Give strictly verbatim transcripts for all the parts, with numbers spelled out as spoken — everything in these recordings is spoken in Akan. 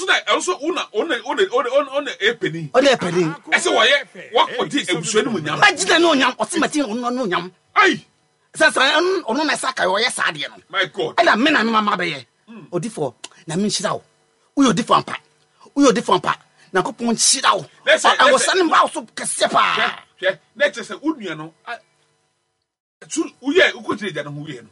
nso na ɛno nso wo na ɔna ɔna ɔna ɔna ɛpɛni. Ɔna ɛpɛni. Ɛsɛ wɔyɛ wakɔdi abusua no mu nyam. Magyina ne onyam, ɔse mati ɔno ne onyam. Ayi. Sɛ sɛ ɔno na ɛsɛ aka ɔyɛ saa adeɛ no. My God. Ɛna me na me mama bɛyɛ. Odifoɔ, na me nhyira wo. Woyɛ odifoɔ ampa. Woyɛ odifoɔ ampa. Nyankopɔn nhyira wo. Ɛwɔ sɛ ne mba wo so kɛseɛ paa. Hwɛ, hwɛ, na ɛkyerɛ sɛ wo nua no, su, woyɛ, wokɔgyina agya no ho wieɛ no,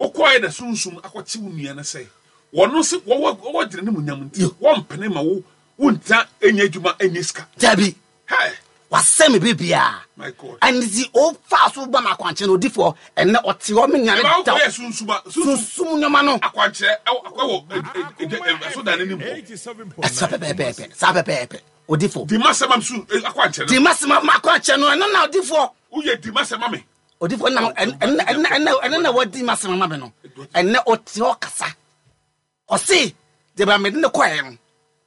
wokɔɛ na sunsum akɔkye wo nua no sɛ, wɔno se wɔwɔ, wɔwɔ gyina ne mu nyam nti, wɔmpene ma wo, wontra ɛnyɛ adwuma, ɛnyɛ sika. Dabi. Hɛ. Wasɛ me biribiara. My God. Ɛne ti ɔfa so ba ma akwankyerɛ no odifoɔ, ɛnɛ ɔte hɔ me nua no Ɛma da. wokɔyɛ sunsum a, sunsum Sunsum nneɛma no. Akwankyerɛ ɛwɔ, ɛwɔ, ɛ, ɛ, ɛ, ɛ, ɛso dan n'anim hɔ. Ɛsa pɛpɛɛpɛ, saa pɛpɛɛpɛ. Odifoɔ. Di ma sɛ ma su, ɛ, akwankyerɛ no. Di ma sɛ ma akwankyerɛ no, ɛno na odifoɔ. Woyɛ di ma sɛ ma me. Odifoɔ na, ɛn, ɛn, ɛn, ɛn, ɛn, na wadi ma sɛ ma me no. Ɛnɛ ɔte hɔ kasa. Ɔse, deɛ ba mede ne kɔɛ no,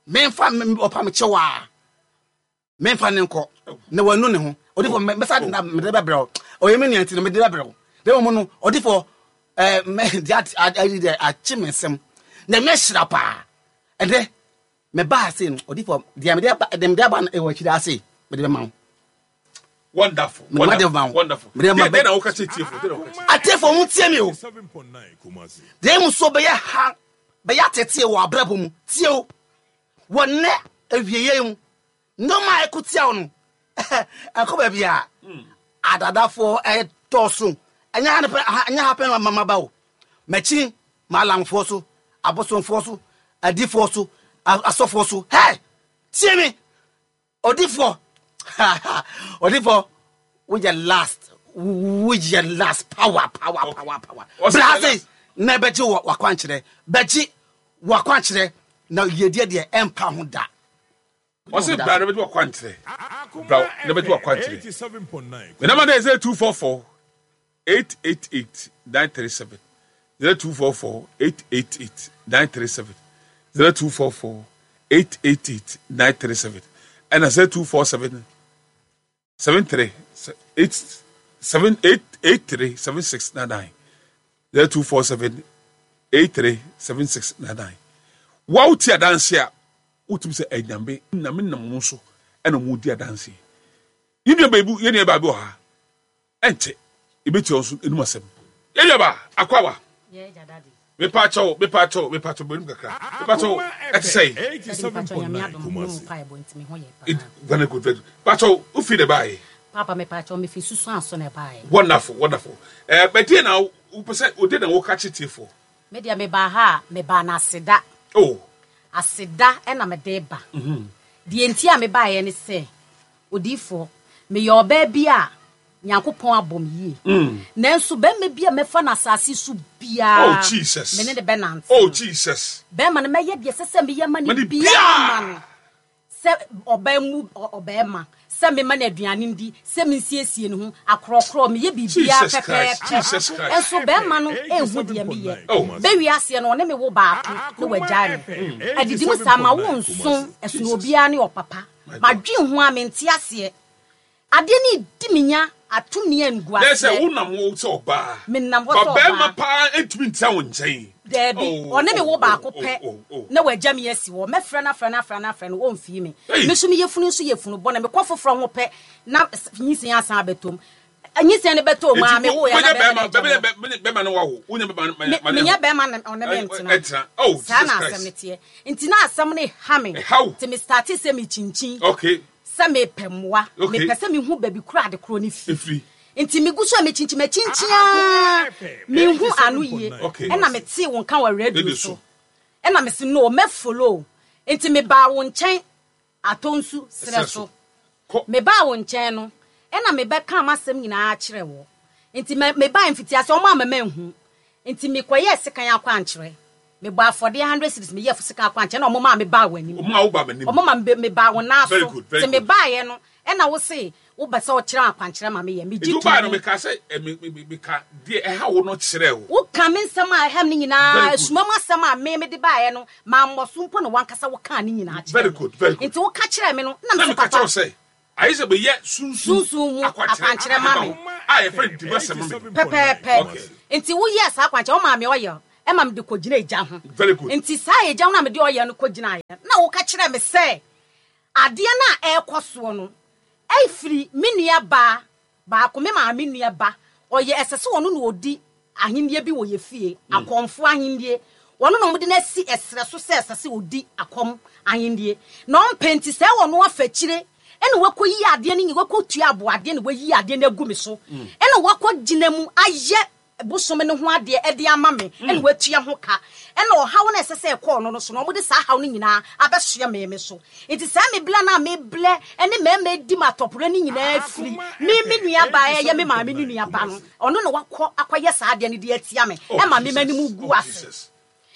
memfa, me, ɔpa me kyɛw a. Memfa ne nkɔ na wanu ne ho. Odifoɔ, me, mɛsa de na mede bɛbrɛ wo. Ɔyɛ me nua nti no mede bɛbrɛ wo. Na mmom no, odifoɔ, eh, me, de at, at, at, de akye me nsam. Na mɛhyira paa. Ɛnɛ, mebaa ase no, odifoɔ, deɛ mede aba, deɛ mede aba no, ɛwɔ akyiri ase, mede bɛma wo. Wonderful, Mede ma de ma wo. wonderful. Mede ma Deɛ, bɛ- deɛ na woka kyerɛ tiefo, deɛ na woka kyerɛ. Atiefo, mo tie me o. Deɛ mu so bɛyɛ ha, bɛyɛ atete wɔ abrabɔ mu. Tie o. Wɔ nnɛ awieyɛ mu, nneɛma a ɛko tia wo no, ɛkɔ baabi a adadafoɔ ɛdɔɔso. Ɛnyɛ ha ne pɛ, ha, ɛnyɛ ha pɛ na mama ba o. M'akyi, maalamfoɔ so, abosomfoɔ so, adifoɔ so, a-, asɔfoɔ so. Hey! Tie me! Odifoɔ! Odifoɔ, woyɛ last. Woyɛ last. Power, power, power, power. Ɔsɛ Bra yɛ ase, last. na ɛbɛgye wɔ wakwankyerɛ. Bɛgye wakwankyerɛ na yɛdeɛ deɛ ɛmpa ho da. Ɔsɛ bra na bɛgye wakwankyerɛ. Bra na bɛgye wakwankyerɛ. Me number is zero two four four eight eight eight nine three seven. zero two four four eight eight eight nine three seven. zero two four four eight eight eight nine three seven. And zero two four seven seven three eight seven eight eight three seven six nine nine. zero two four seven eight three seven six nine nine. Wow, tia dance ya. Utim se enyambe na me nam mo so ena mo di adanse. Yi nua baby, ye nua ba bi ha. Ente ebeti onso enum asem. Ye nua ba akwawa. Ye ja daddy. Me pa cho, me pa cho, me pa cho bonim kakra. Me pa cho, ete sei. It very good, very good. Pa cho, u fi de bai. Papa me pa cho me fi susu anso na bai. Wonderful, wonderful. Eh, but dey na u pese o dey na wo ka chete for. Me dey me ba ha, me ba na aseda. Oh. Aseda e na me dey ba. Mhm. De enti a me ba ye ne se odifo me ye oba bi a Nyankopɔn abom yie. Mm. Nanso bɛma bi a mɛfa na asase so bia. Oh Jesus. Me ne ne bɛnante. Oh Jesus. Bɛma no mɛyɛ deɛ sɛ sɛ meyɛ ma ne Mane bia bia. ma no. Sɛ ɔbaa mu ɔbaa ma sɛ mema no aduane ndi, sɛ mensiesie ne ho akorɔkorɔ meyɛ biribiara Jesus Christ, pɛpɛɛpɛ. Jesus Christ. Nso bɛma no ehu deɛ meyɛ. Oh. Bɛwi aseɛ no ɔne me wo baako na wagyae me. Adidi mu saa ma wo nso ɛsono obiara ne ɔpapa. Madwen ho a mente aseɛ. Adeɛ ne di me nya atumi angu Dɛ sɛ aseɛ. wo nam wo sɛ ɔbaa. Me nam hɔ Ba sɛ bɛrima ɔbaa. paa ntumi ntia wo nkyɛn. Daabi, Oh, ɔne me wo oh, baako oh, pɛ oh, oh. na wagya me asi hɔ. Mɛfrɛ no afrɛ no afrɛ no afrɛ no, ɔmfii me. Hey. Me nso meyɛ funu nso yɛ funu bɔne. Mekɔ foforɔ ho pɛ na nyinsɛn asan abɛtɔ mu. Nyinsɛn no bɛtɔ mu a, Enti me wo yɛ na wonyɛ bɛrima no bɛrima, agya bɛrima, me. bɛrima, bɛrima no wawo. Wonyɛ bɛrima no, Me, ma ne menyɛ ho. bɛrima no, ɔne me Ɛ, ntena. ɛntena. Oh, Saa Jesus na Christ. asɛm no teɛ. Nti na asɛm no ha me. Ɛha wo. Nti me starte sɛ mekyinkyin. Okay. Sɛ mepɛ mmoa. Okay. Mepɛ sɛ mehu baabi koro ade koro no fi. Efiri. Nti megu so a mekyinkyin, makyinkyin a, menhu ano yie. Okay. Ɛna metee wo nka wɔ radio Radio so. so. Ɛna mese no, mɛfollow. Nti mebaa wo nkyɛn atɔ nsu serɛ Serɛ so. so. Kɔ. Mebaa wo nkyɛn no, ɛna mebɛka m'asɛm nyinaa kyerɛ wo. Nti me-, mebaa mfitiase, ɔmo ama manhu. Nti mekɔyɛɛ sekan akwankyerɛ. Mebɔ afɔdeɛ hundred cedis, meyɛɛ sekan akwankyerɛ, na ɔmo maa mebaa w'anim. Ɔmo maa wo baa m'anim. Ɔmo maa me-, mebaa wo nan Very so. good, very Nti good. mebaeɛ no, ɛna wo se, wobɛ sɛ ɔkyerɛ akwankyerɛ ma meyɛ. Megye Nti wobaeɛ no, to mu. meka sɛ, eh, me-, me-, me-, meka deɛ ɛha wo no kyerɛ wo. Woka me nsɛm a ɛha me no nyinaa, Very good. esuma mu asɛm a me mede baeɛ no, mammɔ so mpo na wankasa wokaa ne nyinaa kyerɛ Very me. good, very good. Nti woka kyerɛ me no, na Na mese meka papa. kyerɛ wo sɛ, ayɛ sɛ meyɛ sunsun Sunsun mu akwankyerɛ akwankyerɛ ma me. A yɛfrɛ no dima sɛm ma me. Pɛpɛɛpɛ. Okay. Nti woyɛɛ saa akwankyerɛ, wo maame ɔyɛ, Ɛma mede kɔgyina egya ho. Very good. Nti saa egya ho na mede ɔyɛ no kɔgyinaeɛ. Na woka kyerɛ me sɛ adeɛ no a ɛrekɔ soɔ no ɛfiri me nua baa baako, me maame nua ba, ɔyɛ ɛsɛ sɛ ɔno na ɔdi ahennie bi wɔ yɛ fie, akɔmfo ahennie. Ɔno na ɔmode no asi ɛserɛ so sɛ ɛsɛ sɛ ɔdi akɔm ahennie. Na ɔmpɛ nti sɛ ɔno afa akyire ɛna wakɔyi adeɛ no nyi, wakɔtua aboadeɛ na wayi adeɛ no agu me so. Ɛna wakɔgyina mu ayɛ bosom ne ho adeɛ ɛde ama me, ɛna watua ho ka. Ɛna ɔhaw no ɛsɛ sɛ ɛkɔɔ no no so no, ɔmode saa haw no nyinaa abɛsoɛ me me so. Nti saa meblɛ no a meblɛ ɛne mmarima di ma atɔporɔ no nyinaa firi me me nua ba ɛyɛ me maame ne nua ba no, ɔno na wakɔ akɔyɛ saa adeɛ no de atia me, ɛma me m'anim gu Oh, ase. Jesus.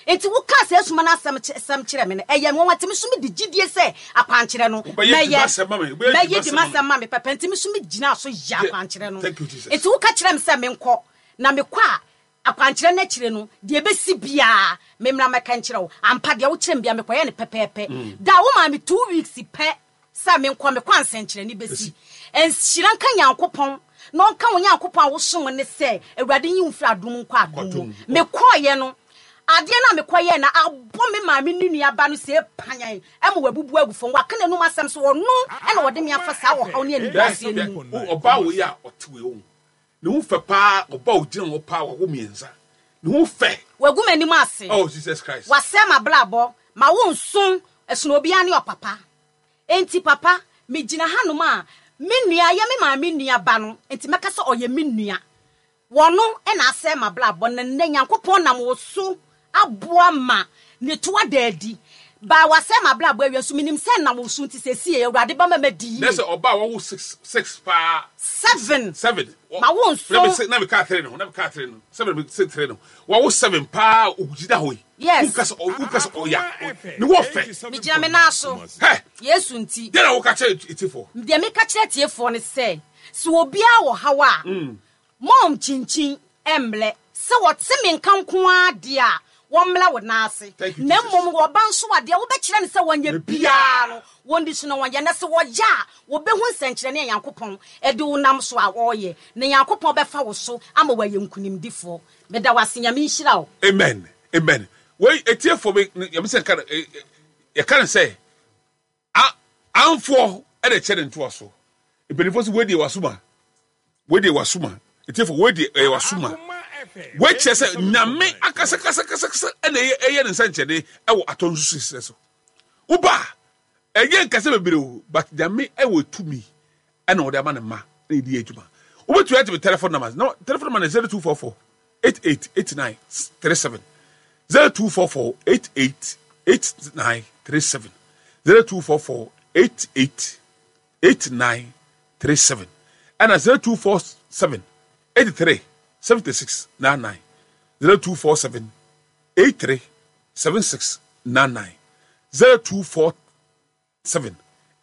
Nti woka sɛ asuma no asɛm sɛm kyerɛ me no, ɛyɛ nwanwa. Nti me so mede gyidie sɛ akwankyerɛ no Wobɛyɛ mɛyɛ dimasɛm ma me, wobɛyɛ mɛyɛ dimasɛm ma me. dimasɛm ma me pɛpɛ. Nti me so megyina so yɛ akwankyerɛ no. Thank you, Jesus. Nti woka kyerɛ me sɛ menkɔ na mekɔ a, akwankyerɛ no akyire no deɛ ɛbɛsi biara memmra mɛka nkyerɛ wo. Ampa, deɛ wokyerɛ me bia mekɔyɛ no pɛpɛɛpɛ. Da wo maa me two weeks pɛ sɛ menkɔ, mekɔ ansɛnkyerɛnne bɛsi. Nhyira nka Nyankopɔn na ɔnka wo Nyankopɔn a wosom ne sɛ Awurade nyi wo mfiri adom nkɔ adom mu. Mekɔɔyɛ no, adeɛ no a mekɔyɛɛ no abɔ me maame ne nua ba no sɛ panyan ɛma wabubu agu fam. Waka n'anum asɛm so, ɔno ɛna wɔde me afa saa ɔhaw ne animguaseɛ no mu. Ɔbaa wei a ɔte wei ho ne ho fɛ paa, ɔbaa ogyina hɔ paa, wawo mmiɛnsa, ne ho fɛ. Wagu m'anim ase. Oh, Jesus Christ. Wasɛe m'abrabɔ ma wo nso ɛsono obiara ne ɔpapa. Enti papa, megyina hanom a me nua yɛ me maame nua ba no, enti mɛka sɛ ɔyɛ me nua. Wɔno ɛna asɛe m'abrabɔ na nnɛ Nyankopɔn nam wo so aboa ma ne to ada adi. Ba wasɛe m'abrabɔ awie nso, menim sɛ nam wo so nti sɛsie Awurade bɛma madi yie. Na sɛ ɔbaa wawo six six paa. Seven. Seven. Ma wo nso. Na me na me kaa three no, na me kaa three no, seven me say three no, wawo seven paa, ogyina hɔ yi. Yes. Wokasa wokasa ɔya ne wɔ fɛ. Megyina me nan so. Hɛ. Yesu nti. Deɛ na woka kyerɛ etiefoɔ? Deɛ meka kyerɛ tiefoɔ ne sɛ, sɛ obiara wɔ haw a, mɔm kyinkyin ɛmlɛ. Sɛ wɔte me nka nko ara deɛ a, wɔmmla wo nan ase. Thank you, Na Jesus. mmom wɔba nso a, deɛ wobɛkyerɛ no sɛ wɔnyɛ biara no, wɔndi so na wɔnyɛ. Na sɛ wɔyɛ a, wɔbɛhu nsɛnkyerɛnne a Nyankopɔn ɛde wo nam so a wɔreyɛ. Na Nyankopɔn bɛfa wo so ama wɔayɛ nkonimdifoɔ. Meda wo ase, Nyame nhyira wo. Amen. Amen. Wei etiefoɔ bi yɛm sɛ nka yɛka no sɛ a amfoɔ ɛna ɛkyɛ ne ntoa so. Mpanimfoɔ sɛ wei deɛ wasoma, wei deɛ wasoma. Etiefoɔ, wei deɛ ɛyɛ wasoma. Wei kyerɛ sɛ Nyame akasakasakasakasa ɛna ɛyɛ ɛyɛ ne nsɛnkyerɛnne ɛwɔ atɔ nso sisɛ so. Woba ɛnyɛ nkasa bebree o, but Nyame ɛwɔ tumi ɛna ɔde ama ne mma na yɛdi adwuma. Wobɛtumi ate me telephone number. No, telephone number zero two four four eight eight eight nine three seven, zero two four four eight eight eight nine three seven, zero two four four eight eight eight nine three seven, ɛna zero two four seven eighty three seventy six nine nine, zero two four seven eight three seven six nine nine, zero two four seven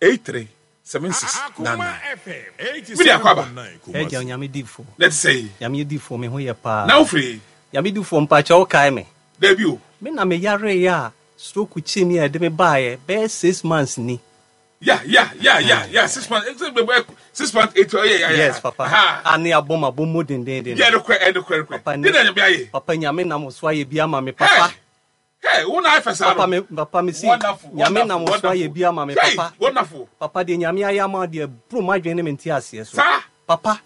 eight three seven six nine nine. Mede akɔ aba. Ɛgya Nyame difoɔ. Na ɛte sɛ yi. Nyame difoɔ, me ho yɛ paa. Na wofiri? Nyame difoɔ, mpakyɛ wo kae me? Dabi o. Me na meyareeɛ a stroke kyee me a ɛde me baeɛ bɛyɛ six months ni. Ya ya ya ya ya, six months, six months, eight, yeah, yeah, yeah. Yes papa. Ha. A ne abɔ ma bɔ mu dendenden. Yeah, no kɔ, ɛno kɔ, ɛno kɔ. Papa ne na Nyame ayɛ. Papa, Nyame nam so ayɛ bi ama me papa. Hey, wo na ayɛ saa Papa no. me papa me si Wonderful, Nyame nam wonderful, so ayɛ bi ama me Hey, papa. wonderful. Papa deɛ Nyame ayɛ ama deɛ bro m'adwene ne me nte aseɛ so. Saa. Papa,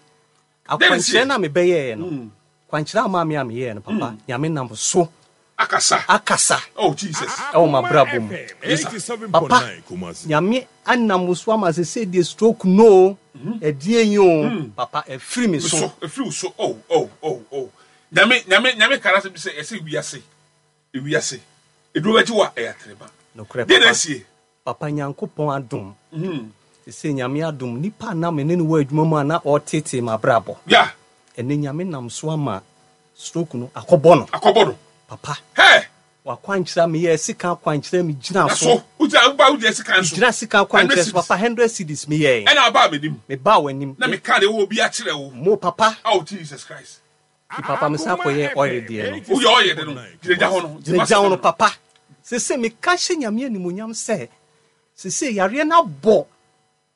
Then akwankyerɛ see. na mebɛyɛɛ no. Kwankyerɛ ama me a meyɛɛ no papa, Nyame nam so Akasa. akasa Oh Jesus. ɛwɔ m'abrabɔ mu. Papa, Nyame anam so ama sɛ sɛ deɛ stroke no ɛdeɛ yi o papa ɛfiri me so. So, efiri wo so. Oh, oh, oh, oh. Nyame, Nyame, Nyame kara sɛ bi sɛ ɛsɛ wiase. Ewiase. Eduro bɛgye wo a ɛyɛ atrema. Nokorɛ Deɛ na papa. asie. Papa, Nyankopɔn adom. Sɛ Nyame adom, nipa a na me ne no wɔ adwuma mu a na ɔtetee m'abrabɔ. Ya. Ɛnɛ Nyame nam so ama stroke no akɔbɔ no. Akɔbɔ no. Papa. Hey. Wakwankyerɛ me yɛ sika akwankyerɛ me gyina Na so. so. Wogyina, woba wogyina sika nso. Gyina sika akwankyerɛ so Hundred papa, hundred cedis me yɛ. Ɛna aba m'anim. Me ba w'anim. Na meka de wɔ obi akyerɛ wo. Mo papa. Oh Jesus Christ. Ti papa me san akɔyɛ ɔyɛ deɛ no. Woyɛ ɔyɛ de no. Gyina gya hɔ no. Gyina gya hɔ no papa. Sese meka hyɛ Nyame animuonyam sɛ sese yareɛ no abɔ.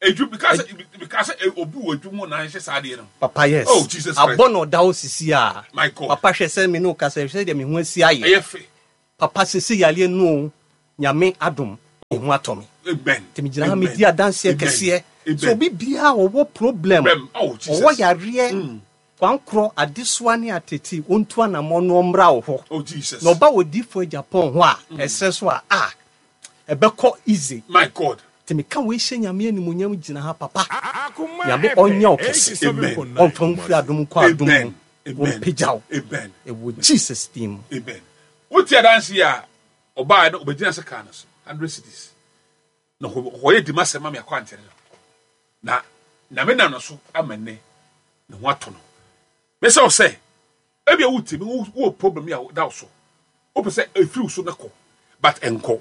Edu because because obi wɔ adwuma na ahyɛ saa adeɛ no. Papa yes. Oh Jesus Christ. Abɔ na ɔda hɔ sisi a. My God. Papa hwɛ sɛ me ne wo kasa hwɛ deɛ me ho asi ayɛ. Ɛyɛ fɛ. Papa sisi yareɛ no o, Nyame adom me ho atɔ me. Amen. Nti me gyina ha me di adanseɛ kɛseɛ. Sɛ obi biara ɔwɔ problem, Oh, Jesus. ɔwɔ yareɛ, kwankorɔ, adesoa ne atete, ɔntu anamɔ na ɔmmra wo hɔ. Oh Jesus. Na ɔba wɔ difoɔ Japan hɔ a, ɛsrɛ so a, ah, ɛbɛkɔ easy. My God. Nti meka wei hyɛ Nyame animuonyam gyina ha papa. Nyame ɔnyɛ wo kɛse. Amen. Ɔmfa wo mfiri adom nkɔ adom mu. Amen. Amen. Ɔmpagya wo. Amen. Ɛwɔ Jesus din mu. Amen. Wote adanse yi a ɔbaa no ɔbɛgyina sɛ kaa no so hundred cities na ɔyɛ dima sɛ ma me akɔ ankyɛre no na Nyame nam no so ama nnɛ ne ho atɔ no. Mesɛ wo sɛ ebia wotie me wowɔ problem yi a da wo so wopɛ sɛ ɛfiri wo so na kɔ but ɛnkɔ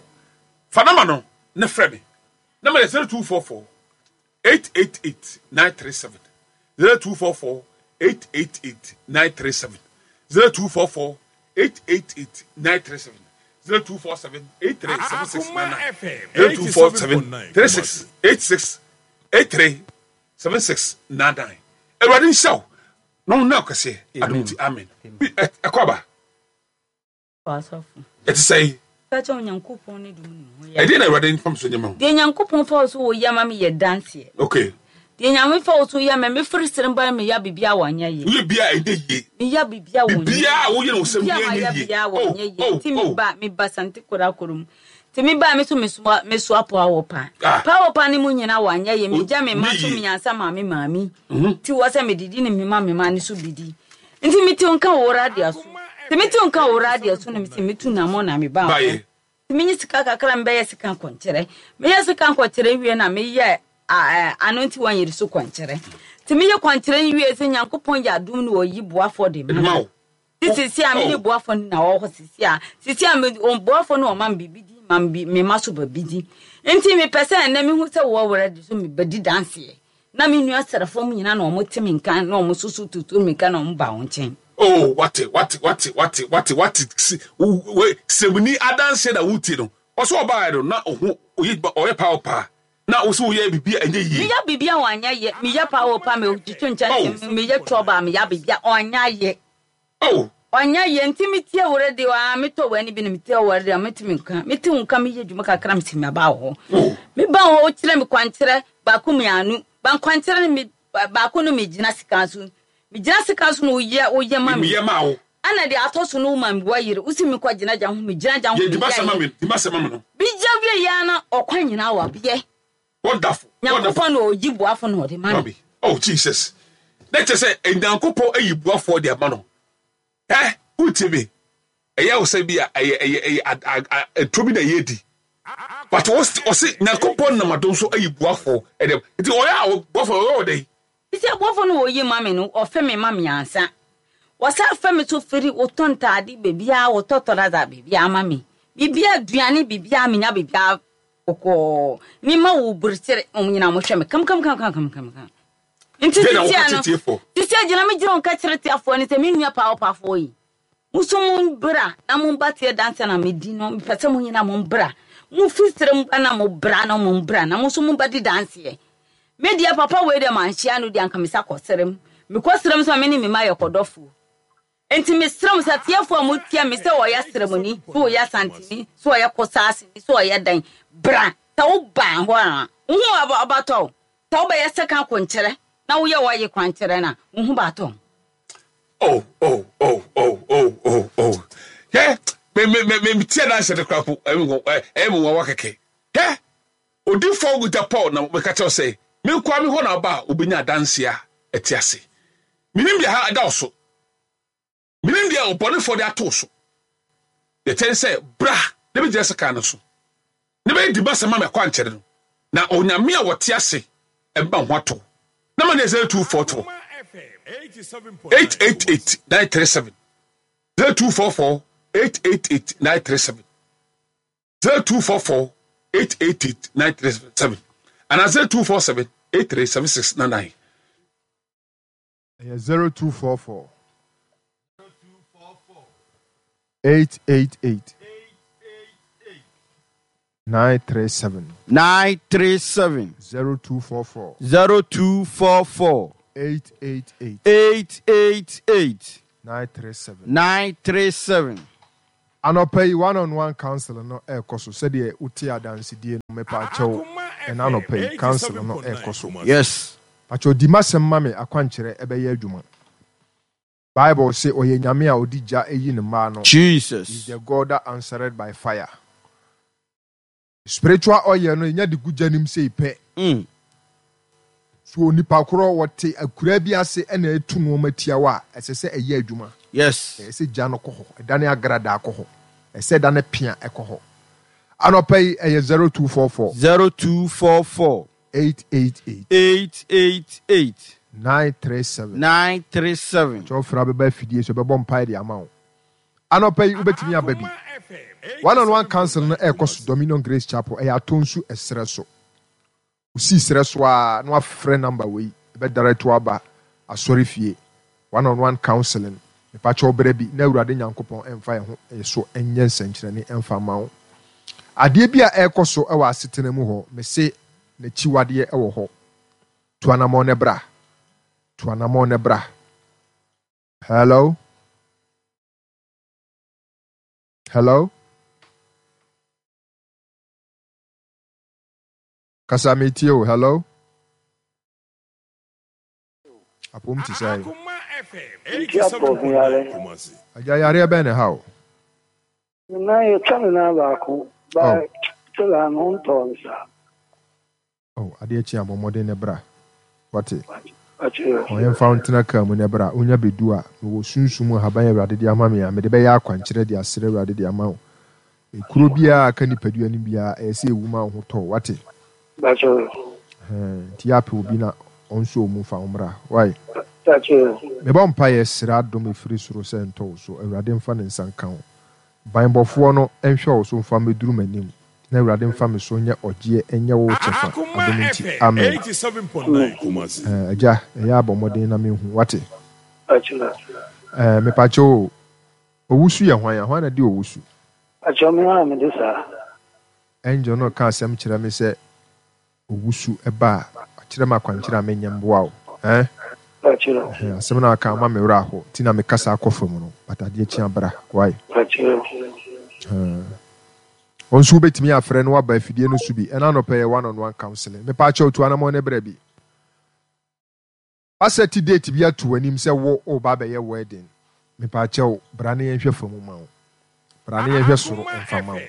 fa nama no ne frɛ me. Number is zero two four four eight eight eight nine three seven zero two four four eight eight eight nine three seven zero two four four eight eight eight nine three seven zero two four seven eight three seven six nine nine zero two four seven three six eight six eight three seven six nine nine. Awurade nhyira wo na wo na kɛseɛ adom nti amen. Ɛkɔ aba. Ɛte sɛ ɛdeɛ na Awurade mfam so nyɛma wo. Deɛ Nyankopɔn fa wo so wɔ yɛ ma me yɛ danseɛ. Okay. Deɛ Nyame fa wo so yɛ ma me firi sere ba me ya bibia wanyɛ yie. Woyɛ bia ɛnyɛ yie. Me ya bibia wɔ Bibia a woyɛ no sɛ Bibia woyɛ ma ya nyɛ yie. bibia Oh, wɔ nyɛ yie. oh, Nti me oh. ba me ba sante kora korom. Nti me ba me so me so me so apo awɔ pa. Ah. Pa wɔ pa ne mu nyina wanyɛ yie. Me gya me ma Nyɛ so yie. me nyansa ma me maame. Nti wɔ sɛ me didi ne me ma me ma ne so bidi. Nti me te nka wɔ radio so. Nti me te nka wɔ radio so na me se me tu na mo na me ba. Baye. Nti me nyi sika kakra me bɛyɛ sika nkɔnkyerɛ. Me yɛ sika nkɔnkyerɛ wie na me yɛ ano nti wɔn yere so kɔnkyerɛ. Nti me yɛ kɔnkyerɛ wie sɛ Nyankopɔn yɛ adom no ɔyi boafo de ma. Ma wo. Nti sisi a me ne Oh. boafo no na ɔwɔ hɔ sisi a. Sisi a me boafo no ɔma me biribi di, ma me bi, me ma so ba bi di. Nti me pɛ sɛ ɛnnɛ me hu sɛ wɔ wɔ de so me bɛdi danseɛ. Na me nua srɛfo mu nyinaa na ɔmo te me nka na ɔmo soso tutu me nka na ɔmo ba wɔn nkyɛn. Oh, wate, wate, wate, wate, wate, wate. Si, we, semuni adanse na wuti no. Ɔsɛ ɔbaa no na ɔho oye ɔyɛ power pa. Na wo so woyɛ biribi a ɛnyɛ yie. Meyɛ biribi a wanyɛ yɛ. Meyɛ power pa, me twitwi nkyɛn, Oh. meyɛ twɔba, meyɛ biribi a ɔnyɛ yɛ. Oh. Ɔnyɛ yɛ nti metie wo radio a metɔ w'ani bi na metie wo radio a metumi nka. Mete wo nka meyɛ adwuma kakra mete me aba wɔ hɔ. Oh. Meba hɔ wokyerɛ me kwankyerɛ baako mmienu. Ba nkwankyerɛ no me baako no megyina sika so. Megyina sika so na woyɛ woyɛ ma me. Meyɛ ma wo. Ana de atɔ so no wo ma me wa yere. Wosi me kɔ gyina gya ho, megyina gya ho, Yɛ dima meyɛ sɛ ma yɛ. me, dima sɛ ma me no. Bigya wie yɛ na ɔkwan nyinaa wɔ abeɛ. Wonderful. Nyankopɔn Wonderful. na ɔyi boafo na ɔde ma no. Mami. Oh Jesus. Na kyerɛ sɛ Nyankopɔn ayi boafoɔ de ama no. Eh, wotie me. Ɛyɛ wo sɛ bi a ɛyɛ ɛyɛ ɛyɛ a a ɛtɔ bi na ɛyɛ di. But ɔse Nyankopɔn nam adom so ayi boafoɔ ɛdɛm. Nti ɔyɛ a boafoɔ ɔyɛ wɔ dɛn? Sɛ boafoɔ no wɔyi ma me no, ɔfɛ me ma me ansa. Wɔsa fɛ me so firi wotɔ ntaade beebiara, wotɔ tɔraza beebiara ma me. Biribiara aduane biribiara menya biribiara kɔkɔɔ. Me ma wo burukyere, wɔn nyinaa wɔhwɛ me kam kam kam kam kam kam kam. Nti Deɛ na sisi wɔka ano, kyerɛ tiefoɔ? sisi agyina me gyina wɔn ka kyerɛ tiefoɔ ne sɛ me nua paa ɔpaafoɔ yi. Mo nso mo bra na mo ba tie dansa na me di no, mepɛ sɛ mo nyinaa mo bra. Mo fi sere mo ba na mo bra na mo bra na mo nso mo ba di danseɛ. Me deɛ papa wei deɛ manhyia no deɛ anka me sa kɔ sere mu. Me kɔ sere mu sɛ me ne me ma yɛ kɔdɔfoɔ. Nti me sere mu sɛ tiefoɔ a mo tie me sɛ ɔyɛ seremoni, sɛ ɔyɛ santini, sɛ ɔyɛ kosaaseni, sɛ ɔyɛ dan. Bra, sɛ wo ba hɔ a, wo ho aba abatɔ wo. Sɛ wobɛyɛ sɛka kwankyerɛ na woyɛ wɔyɛ kwankyerɛ na wo ho baatɔ. Oh, oh, oh, oh, oh, oh, oh. Hɛ, me me me me tie na hyɛ de kora po, ɛmi wɔ, ɛ, ɛmi wɔ wa kɛkɛ. Hɛ, odifoɔ Guta Paul na meka kyerɛ sɛ, me nkoa me hɔ na aba a obenya adanse a ɛte ase. Menim deɛ ha ɛda wo so. Menim deɛ ɔbɔnefoɔ de ato wo so. Deɛ kyɛn sɛ, bra, na bɛgyina sika no so. Na bɛyɛ di ba sɛ ma me akwankyerɛ no. Na Onyame a wɔte ase, ɛmma ho ato. Na ma ne yɛ zero two four two eight eight eight nine three seven zero two four four eight eight eight nine three seven zero two four four eight eight eight nine three seven and zero two four seven eight three seven six nine nine. Yeah, zero two four four eight eight eight nine three seven. Nine three seven. Zero two four four. Zero two four four. Eight eight eight. Eight eight eight. Nine three seven. Nine three seven. Anɔpa yi one on one council no ɛrekɔ so sɛdeɛ wote adansedie no mepaakyɛw ɛna anɔpa yi council no ɛrekɔ so. Yes. Pakyɛw di m'asɛm ma me akwankyerɛ ɛbɛyɛ adwuma. Bible se ɔyɛ Nyame a ɔde gya yi ne mma ano. Jesus. He is the God that answered by fire. Spiritual oil no yɛnya de gu gya nim sei pɛ. Mm. So onipa korɔ wɔte akuraa bi ase ɛna ɛtu nneɛma tia wo a, ɛsɛ sɛ ɛyɛ adwuma. Yes. Ɛsɛ sɛ gya no kɔ hɔ, ɛdane agradaa kɔ hɔ, ɛsɛ sɛ ɛdane pea ɛkɔ hɔ. Anɔpa yi ɛyɛ zero two four four. Zero two four four. Eight eight eight. Eight eight eight. Nine three seven. Nine three seven. Kyɛw fra bɛba afidie so ɛbɛbɔ mpae de ama wo. Anɔpa yi wobɛtumi aba bi. One on one council no ɛrekɔ so Dominion Grace Chapel, ɛyɛ Atonsu ɛserɛ so. Wosii serɛ so a na wafrɛ number wei, ɛbɛ direct wo aba asɔre fie. One on one counseling. Mepakyɛw brɛ bi na Awurade Nyankopɔn ɛmfa yɛn ho so ɛnyɛ nsɛnkyerɛnne ɛmfa mma wo. Adeɛ bi a ɛrekɔ so ɛwɔ asetena mu hɔ, mese n'akyiwadeɛ ɛwɔ hɔ. Tu anammɔn ne bra. Tu anammɔn ne bra. Hello? Hello? Kasa metie o. Hello? Apom te sɛ. Agya yareɛ bɛn ne ha o? Na yɛtwa me nan baako ba tela no ntɔɔ no saa. Oh, adeɛ kye a bɔ mmɔden ne bra. Wate? Ɔyɛmfa wo ntena kaa mu ne bra. Wonya bɛdu a, mewɔ sunsum ahaban Awurade de ama me a, mede bɛyɛ akwankyerɛ de asrɛ Awurade de ama wo. Ekuro biara aka nipadua no biara, ɛyɛ sɛ ewu ma wo ho tɔ. Wate? Nti yɛ apɛ obi na ɔnso mu fa wo mmra. Wai? Mebɔ mpaeɛ srɛ adom efiri soro sɛ ntɔ wo so. Awurade mfa ne nsa nka wo. Banbɔfoɔ no nhwɛ wo so mfa mmɛduru m'anim. Na Awurade mfa me so nyɛ ɔgyeɛ ɛnyɛ wo kyɛfa. Adom nti. Amen. Agya, ɛyɛ abɔ mmɔden na menhu. Wate? Mepakyɛ o, owusu yɛ hwan a? Hwan na di owusu? Akyɛ me a mede saa. Angel no ka asɛm kyerɛ me sɛ owusu ɛba a, akyerɛ me akwankyerɛ a menyɛ mboa wo. Eh? Asɛm no aka ama me werɛ aho. Nti na mekasa akɔ fam no. But adeɛ kye abra. Why? Wo nso wobɛtumi afrɛ no waba afidie no so bi. Ɛna anɔpɛ yɛ one on one counseling. Mepakyɛw tu anammɔn ne brɛ bi. Wasɛte date bi ato w'anim sɛ wo woba abɛyɛ wedding. Mepakyɛw bra ne yɛnhwɛ fam ma wo. Bra ne yɛnhwɛ soro mfa ma wo.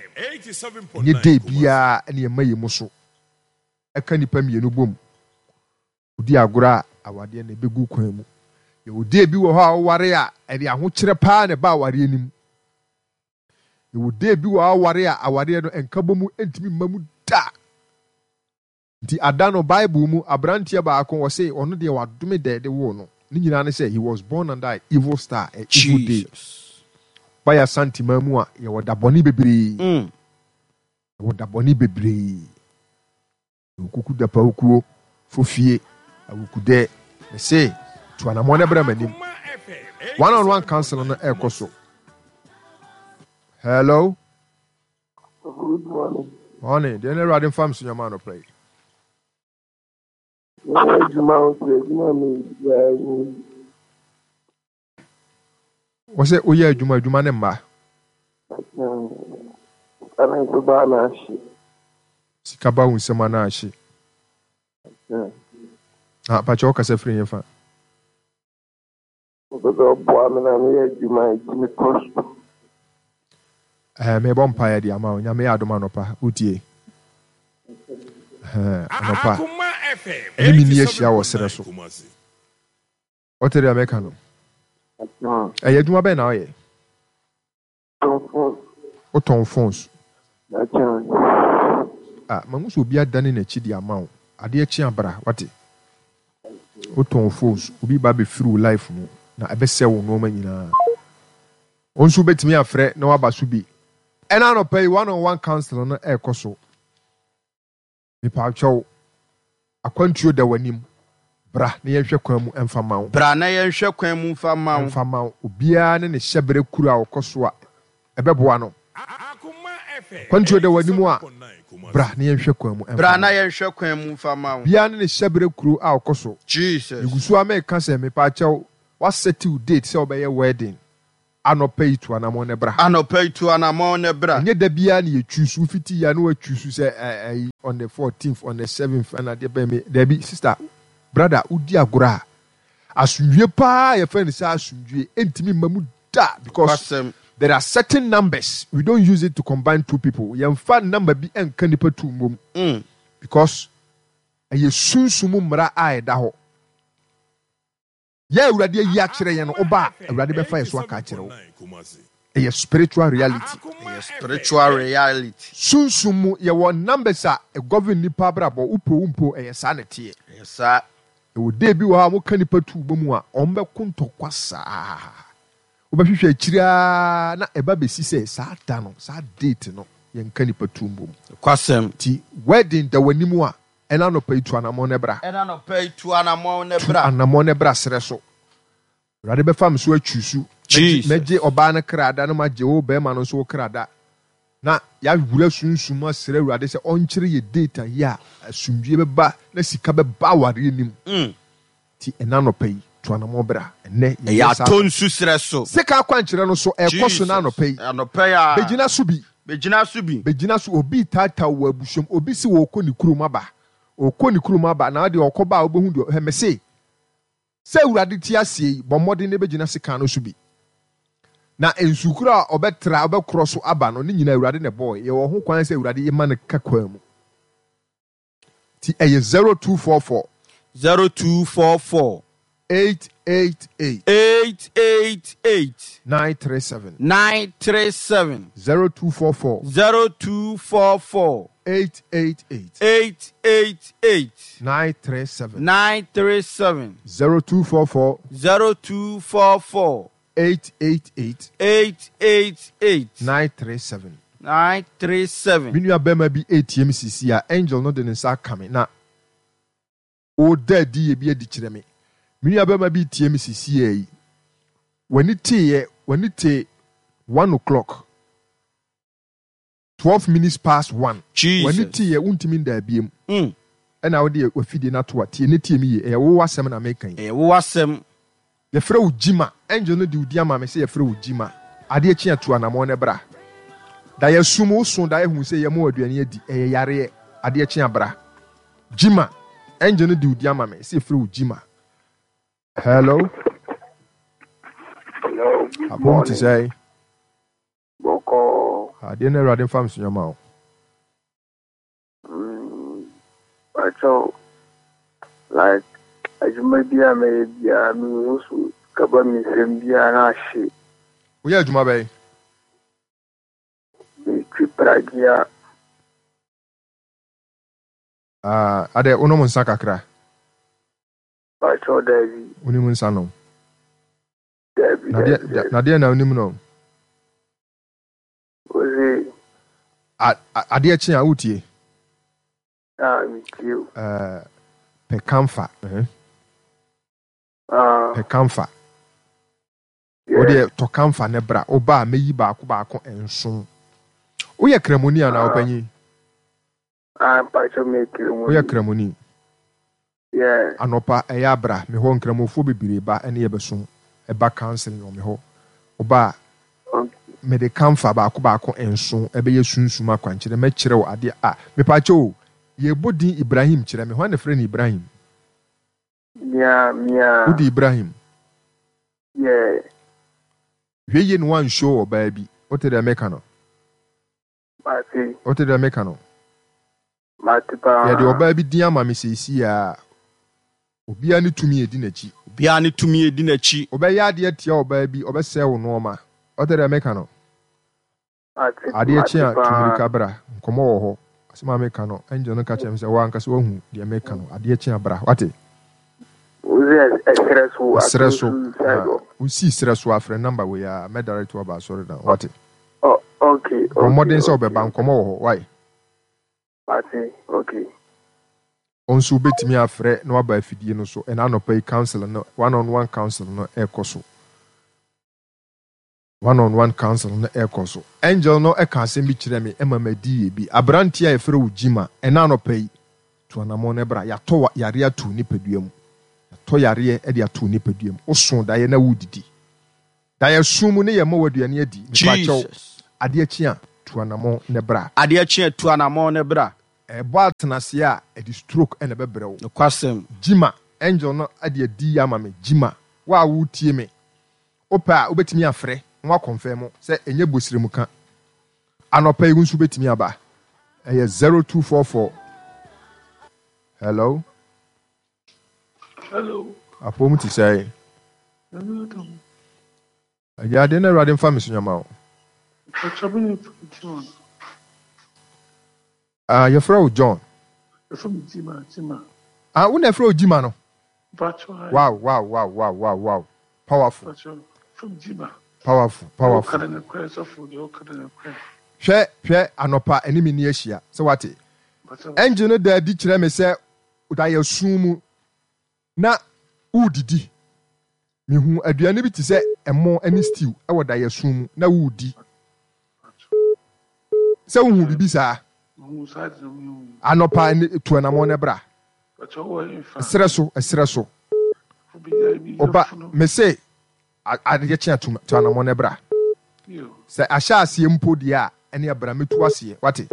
Ɛnyɛ day biara ne ɛma yɛ mu so. Ɛka nipa mmienu bom. Wodi agorɔ a awadeɛ na ɛbɛgu kwan mu. Yɛwɔ day bi wɔ hɔ a woware a ɛde ahokyerɛ paa na ɛba awareɛ no mu. Yɛwɔ day bi wɔ hɔ a woware a awareɛ no nkabɔ mu ntumi mma mu da. Nti ada no Bible mu aberanteɛ baako wɔse ɔno deɛ wadome da ɛde woo no. Ne nyinaa ne sɛ he was born under an evil star, an evil day. Bayɛ Asanteman mu a yɛwɔ da bɔne bebree. Mm. Yɛwɔ da bɔne bebree. Yɛwɔ kuku da pawukuo, fofie, awukudɛ. Mese tu anammɔn ne brɛ m'anim. One on one council no ɛrekɔ so. Hello? Good morning. Morning. Deɛ na Awurade mfa me so nyama anɔpa yi. Adwuma wo sɛ adwuma mi biara ni. Wɔ sɛ woyɛ adwuma adwuma ne mma. Sika no nso baa na ahye. Sika ba wo nsam ana ahye. Ah, pakyɛ wokasa firi yɛn fa. Wopɛ sɛ ɔboa me na meyɛ adwuma ɛtumi kɔ so. Eh, mebɔ mpaeɛ de ama wo. Nyame yɛ adom anɔpa. Wotie. Eh, anɔpa. Ɛne me ni ahyia wɔ serɛ so. Wote deɛ meka no? Ɛyɛ adwuma bɛn na woyɛ? Wotɔn phones. Ah, mahu sɛ obi adane n'akyi de ama wo. Adeɛ kye abra, wate? Wotɔn phones. Obi ba bɛfiri wo life mu na ɛbɛsɛ wo nneɛma nyinaa. Wo nso wobɛtumi afrɛ na waba so bi. Ɛna anɔpa yi one on one council no ɛrekɔ so. Mepaakyɛw, akwantuo da w'anim. Bra na yɛnhwɛ kwan mu ɛmfa ma wo. Bra na yɛnhwɛ kwan mu mfa ma wo. Ɛmfa ma wo. Obiara ne ne hyɛberɛ kuro a ɔkɔ so a ɛbɛboa no. Kwantuo da w'anim a, bra na yɛnhwɛ kwan mu mfa Bra na ma wo. yɛnhwɛ kwan mu mfa ma wo. Biara ne ne hyɛberɛ kuro a ɔkɔ so. Jesus. Megu so ara meka sɛ, mepaakyɛw, woasɛte wo date sɛ wobɛyɛ wedding anɔpa yi, tu anamɔn na bra. Anɔpa yi, tu anamɔn na bra. Ɛnyɛ da biara na yɛ choose, wofiti yi a na woachoose sɛ ɛyi on the fourteenth, on the seventh ɛna adeɛ bɛn me, daabi sister, brother, wodi agorɔ a, asomdwie paa yɛfrɛ no sɛ asomdwie ɛntumi mma mu da because Kwasɛm. there are certain numbers we don't use it to combine two people. Yɛmfa number bi ɛnka nipa two mmom Mm. because ɛyɛ sunsum mmara a ɛda hɔ. Yɛ Awurade ayi akyerɛ yɛn no, woba a, Awurade bɛfa yɛ so aka akyerɛ wo. Ɛyɛ spiritual reality. Ɛyɛ spiritual reality. Sunsum mu yɛwɔ numbers a ɛgovern nipa abrabɔ, wopɛ wo mpo, ɛyɛ saa na ɛteɛ. Ɛyɛ saa. Ɛwɔ day bi wɔ hɔ a wɔka nipa tu bɔ mu a, wɔn bɛko ntɔkwa saa. Wobɛhwehwɛ akyiri ara na ɛba bɛsi sɛ saa da no, saa date no, yɛnka nipa tu mbom. Kwasɛm. Nti wedding da w'anim a, ɛna anɔpa yi tu anammɔn na bra. Ɛna anɔpa yi tu anammɔn na Tu bra. anammɔn na bra serɛ so. Awurade bɛfa me so atwi so. Jesus. Mɛgye ɔbaa no kra da na magye wo bɛrima no nso wo kra da. Na yɛawura sunsum asrɛ Awurade sɛ ɔnkyerɛ yɛ date a yi a asomdwie bɛba na sika bɛba awareɛ nim. Mm. Nti ɛna anɔpa yi tu anammɔn bra. Ɛnnɛ Ɛyɛ yɛyɛ saa. atɔ nsu serɛ so. Sika akwankyerɛ no so ɛkɔ so na anɔpa yi. Anɔpa yi a. Bɛgyina so bi. Bɛgyina so bi. Bɛgyina so obi taataa wɔ abusuam obi si wɔ ɔkɔ ne kurom aba ɔkɔ ne kurom aba na ɔde ɔkɔ ba a wobɛhu deɛ hɛ mese sɛ Awurade te aseɛ yi bɔ mmɔden na bɛgyina sika no so bi na nsukuro a ɔbɛtra ɔbɛkorɔ so aba no ne nyinaa Awurade na ɛbɔɔ yɛwɔ ho kwan sɛ Awurade yɛma no ka kwan mu ti ɛyɛ zero two four four Zero two four four. eight eight eight Eight eight eight. nine three seven Nine three seven. zero two four four Zero two four four. eight eight eight Eight eight eight. nine three seven Nine three seven. zero two four four Zero two four four. eight eight eight Eight eight eight. nine three seven. Nine three seven. Me nua bɛrima bi etie me sisi a angel no de ne nsa aka me na ɔda adi yɛ bi adi kyerɛ me. Me nua bɛrima bi tie me sisi yɛ yi w'ani teeɛ w'ani te one o'clock twelve minutes past one. Jesus. W'ani teeɛ wontumi nda abiem Mm. ɛna wode wafidie no ato a tie ne tie me yie ɛyɛ wo asɛm na meka yi. Ɛyɛ wo asɛm. Yɛfrɛ wo Gyima angel no de wo di ama me sɛ yɛfrɛ wo Gyima adeɛ kye atu anammɔn no bra da yɛsum wo so da yɛhu sɛ yɛma wo aduane adi ɛyɛ yareɛ adeɛ kye abra Gyima angel no de wo di ama me sɛ yɛfrɛ wo Gyima. Hello. Hello, good Apom te morning. sɛ Bɔkɔɔ. adeɛ no Awurade mfa me so nyɛma wo. Mm, Pacho, like, adwuma bi a mɛyɛ biara, mehu so kaba me nsɛm biara na ahye. Woyɛ adwuma bɛyɛ? Metwi pragea. Ah, adɛ wonom nsa kakra? Pacho, daabi. Wonim nsa nom? Daabi, Na deɛ- daabi, daabi. na deɛ na wonim no? Ose, A- a- adeɛ kye a wotie ah, metie o. Eh, pɛ kamfa eh? Ah, Pɛ kamfa. yeah. Wodeɛ tɔ kamfa ne bra woba a mɛyi baako baako nson. Woyɛ kramoni anaa ɔpanyin? Ah, Pacho, mekiri mu. Woyɛ kramoni? Yeah. Anɔpa ɛyɛ abra me hɔ nkramofoɔ bebree ba ɛne yɛbɛsom ɛba counseling wɔ me hɔ woba a Okay. mede kamfa baako baako nson ɛbɛyɛ sunsum akwankyerɛ mɛkyerɛ wo adeɛ a mepaakyɛ o yɛbɔ din Ibrahim kyerɛ me hɔ na frɛ no Ibrahim. Mia, mia. Wode Ibrahim? Yeah. Hwɛ yie na wanhyɛ ɔbaa bi wote deɛ meka no? Mate. Wote deɛ meka no? Mate paa. Yɛde ɔbaa bi din ama me seesei a obiara ne tumi edi n'akyi. Obiara ne tumi edi n'akyi. Ɔbɛyɛ adeɛ tia ɔbaa bi ɔbɛsɛe wo nneɛma wote deɛ meka no? Mate, Adeɛ kye a mate paa. tumirika bra nkɔmmɔ wɔ hɔ asɛm a meka no angel no ka kyerɛ me sɛ woankasa woahu deɛ meka no adeɛ kye a bra wate. Ose, ɛserɛ so. Ɛserɛ so. Ato nsu side hɔ. Wosii serɛ so afrɛ number wei a mɛdirect wo aba asɔre dan wate. Oh, okay, Bɔ mmɔden sɛ okay, wobɛba nkɔmmɔ wɔ hɔ wae. Mate, okay. Wo nso wobɛtumi afrɛ na waba afidie no so ɛna anɔpa yi council no one on one council no ɛrekɔ so. One on one council no ɛrekɔ so. Angel no ɛka asɛm bi kyerɛ me ɛma madi yɛ bi. Aberanteɛ a yɛfrɛ wo Jima, ɛna anɔpa yi, tu anammɔn no bra. Yɛatɔ yareɛ ato nipadua mu. Yɛatɔ yareɛ de ato nipadua mu. Woso daeɛ na wodidi. Daeɛ sum mu ne yɛ mmɔ w'aduane adi. Mepakyɛw, adeɛ kye a, tu anammɔn no bra. Adeɛ kye a, tu anammɔn no bra. Ɛbɔ atenaseɛ a, ɛde stroke na ɛbɛbrɛ wo. Nokwasɛm. Jima, angel no de adi ama me. Jima, wo a woretie me, wopɛ a wobɛtumi afrɛ na woakɔnfɛm sɛ ɛnyɛ bosiremka. Anɔpa yi wo nso wobɛtumi aba. Ɛyɛ zero two four four. Hello. Hello. Apɔw te sɛn? Agya, adeɛ na Awurade mfa me so nyama wo. Ah, yɛfrɛ wo John. Ah, wo na yɛfrɛ wo Jima no? Wow, wow, wow, wow, wow, wow. Powerful. Powerful, powerful. Hwɛ, hwɛ, anɔpa ɛne me ni ahyia. Sɛ wate. Angel no da adi kyerɛ me sɛ da sum mu na wodidi. Mehu aduane bi te sɛ ɛmo ne stew wɔ daeɛso mu na woredi. Sɛ wohu biribi saa? Anɔpa ne tu anamɔn na bra. Ɛserɛ so, ɛserɛ so. Ɔba, mese adeɛ kye a tu anamɔn na bra. Sɛ ahyɛ aseɛ mpo deɛ a, ɛne abra mɛtu aseɛ. Wate?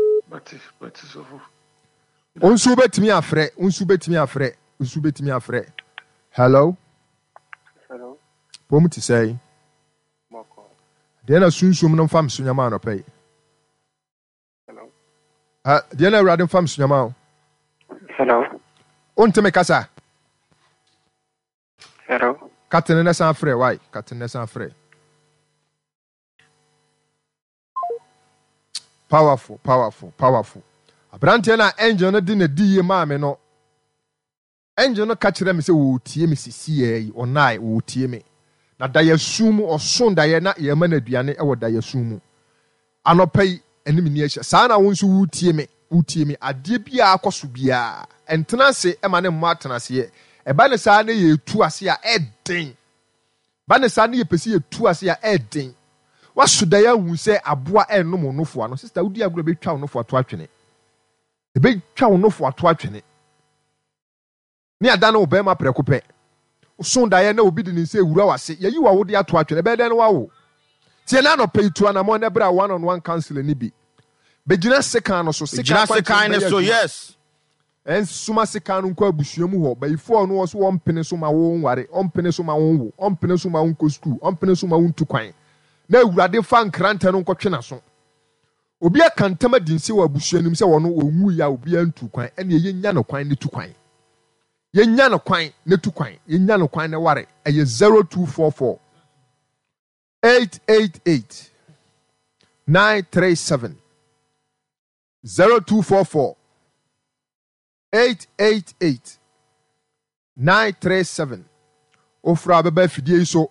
Wo nso wobɛtumi afrɛ, wo nso wobɛtumi afrɛ, wo nso wobɛtumi afrɛ. Hello? Hello. Pom te sɛn? Deɛ na sunsum no mfa me so nyama anɔpa yi. Hello. Ah, deɛ na Awurade mfa me so nyama o. Hello. Wonte me kasa? Hello. Katene na san frɛ, why? Katene na san frɛ. Powerful, powerful, powerful. Aberanteɛ na angel no de na di yie maa me no. Angel no ka kyerɛɛ me sɛ ɔretie me seseiara yi, ɔnae, ɔretie me. Na daeɛso mu, ɔso daeɛ na yɛrema no aduane wɔ daeɛso mu. Anɔpa yi, ɛne me ni ahyia. Saa na wo nso woretie me, woretie me. Adeɛ biara akɔ so biara, ɛntena ase ma ne mmɔ atenaseɛ. Ɛba ne saa na yɛretu ase a, ɛden. Ba ne saa na yɛpɛ sɛ yɛtu ase a, ɛden. Waso daeɛ ahu sɛ aboa ɛrenom wo nofoa no. Sista, wodi agorɔ a, ɛbɛtwa wo nofoa to atwene. Ɛbɛtwa wo nofo ato atwene, ne adane wo barima prɛko pɛ. Woso daeɛ na obi de ne nsa rewura w'ase, yɛayi w'awodeɛ ato atwene, ɛbɛyɛ dɛn na woawo? Tie na anɔpa yi, tu anammɔn na bra one on one counseling no bi. Bɛgyina sekan no so, sekan Gyina akwankyerɛ sekan no no bɛyɛ so, adwuma. yes. Ɛnsoma sekan no nkɔ abusua mu hɔ. Bayifoɔ no wɔ so ɔmpene so ma wo nware, ɔmpene so ma wo nwo, ɔmpene so ma wo nkɔ sukuu, ɔmpene so ma wo ntu kwan. Na Awurade fa nkrantɛ no nkɔtwe n'aso. Obi aka ntam adi nse wɔ abusua no mu sɛ ɔno ɔnwui a obiara ntuu kwan, ɛnneɛ yɛnnya no kwan na tu kwan. Yɛnnya no kwan na tu kwan. Yɛnnya no kwan na ware. Ɛyɛ zero two four four eight eight eight nine three seven zero two four four eight eight eight nine three seven. Ofra bɛba afidie yi so.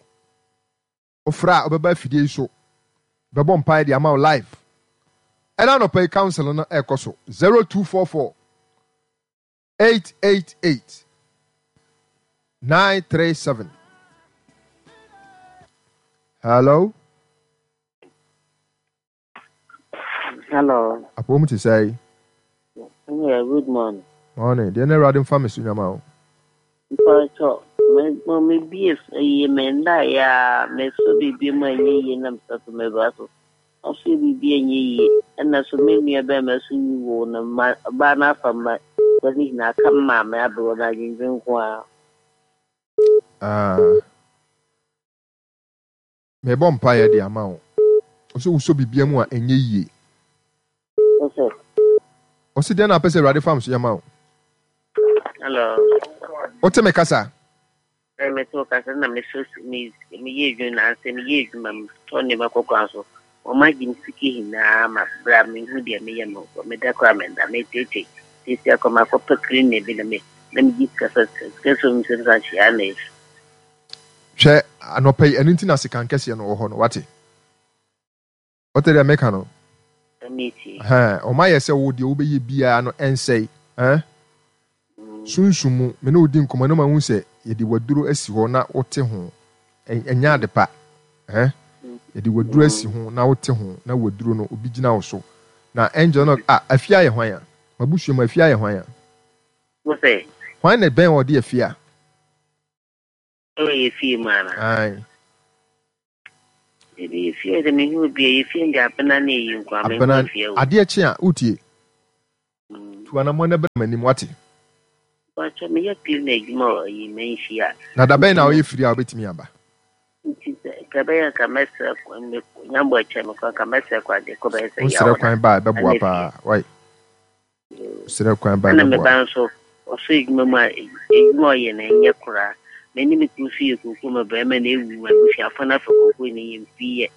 Wofrɛ a wobɛba afidie yi so bɛbɔ mpaeɛ de ama wo live. Ɛna anɔpa yi council no ɛrekɔ so zero two four four eight eight eight nine three seven. Hello. Hello. Apɔ mu te sɛ. Yeah, good morning. Morning. Deɛ na Awurade mfa me so nyama o. Mpatsɔ, me mo me bie eyi me nda ya me so biribi mu ɛnyɛ yie na me so me ba so. Ɔso biribi ɛnyɛ yie ɛna so me nua bɛrima so yi wo na ma ɔbaa no afa ma wɔne nyinaa aka me maame abrɛ na adwendwen nko ara. Ah. Mebɔ mpaeɛ de ama wo. Ɔsɛ wosɔ biribi mu a ɛnyɛ yie. Ɔsɛ. Ɔsɛ deɛ na apɛ sɛ Awurade fam so yɛ ma wo. Hello. Wote me kasa? Ɛ me to kasa na me so me me yɛ adwuma na ansɛ me yɛ adwuma me tɔ nneɛma kɔkɔɔ so. Wɔn agye me sika nyinaa ma bra me hu deɛ meyɛ no me da koraa me nda me tete tete akɔ ma akɔpɛ clean bi na me na me gye sika sɛ sika so me sɛ sɛ ahyia na efi. Hwɛ anɔpa yi ɛno nti na sekan kɛseɛ no wɔ hɔ no wate. Wote deɛ meka no? Ɛmɛ Ɔma yɛ sɛ wo deɛ wobɛyɛ biara no ɛnsɛe. Ɛn? Sunsum mu me ne wo di nkɔmmɔ na mahu sɛ yɛde waduro asi hɔ na wote ho. Ɛnyɛ ade pa. Ɛn? Yɛde waduro asi ho na wote ho na waduro no obi gyina wo so. Na angel no ah afie ayɛ hwan a? Mabusua mu afie ayɛ hwan a? Wo sɛ? Hwan na ɛbɛn ɔde afie a? Ɛwɔ yɛ fie mu ana? Ae. Ebi yɛ fie de mehu obi a yɛ fie de abena ne eyi nko a mehu Abena afie o. adeɛ kye a wotie. Tu anammɔn na bra m'anim wate. Mpakyɛ meyɛ cleaner adwuma wɔ ayi manhyia. Na da bɛn na woyɛ firi a wobɛtumi aba? Nti sɛ nka ɛbɛyɛ nka mɛsrɛ kwan me nyambɔ akyɛ me kwan nka mɛsrɛ kwan de kɔ bɛyɛ sɛ Wosrɛ yaw na kwan ba a ɛbɛboa ɛna paa. Wai. Wosrɛ kwan ba a ɛna me ɛbɛboa. ba nso ɔsɔ adwuma mu a adwuma a ɔyɛ no ɛnyɛ koraa. Me ne me kunu nso yɛ kooko ma barima na ewu ma abusuafo no afa kooko no yɛ mfi yɛ.